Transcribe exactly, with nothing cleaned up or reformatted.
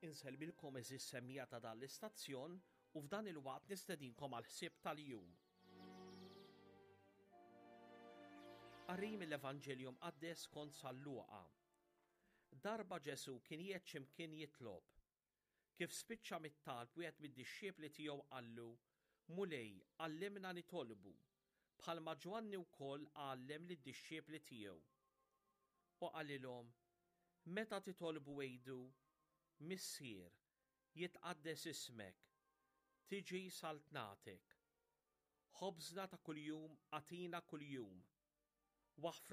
Insellmilkom għeżież semmiegħa ta' dan l-istazzjon u f'dan il-waqt nistedinkom għal ħsieb tal-jum. Qari mill-Evanġelju Mqaddes skont San Luqa. Darba Ġesù kien qiegħed x'imkien jitlob. Kif spiċċa mit-talb wieħed mid-dixxiepli tiegħu qallu, Mulej, għallimna nitolbu, bħalma Ġwanni wkoll għallem lid-dixxiepli tiegħu. U qalilhom, Meta titolbu għidu, Missier, jitqaddes ismek, tiġi saltnatek. Ħobżna ta' kuljum agħtina kuljum. Waħfrilna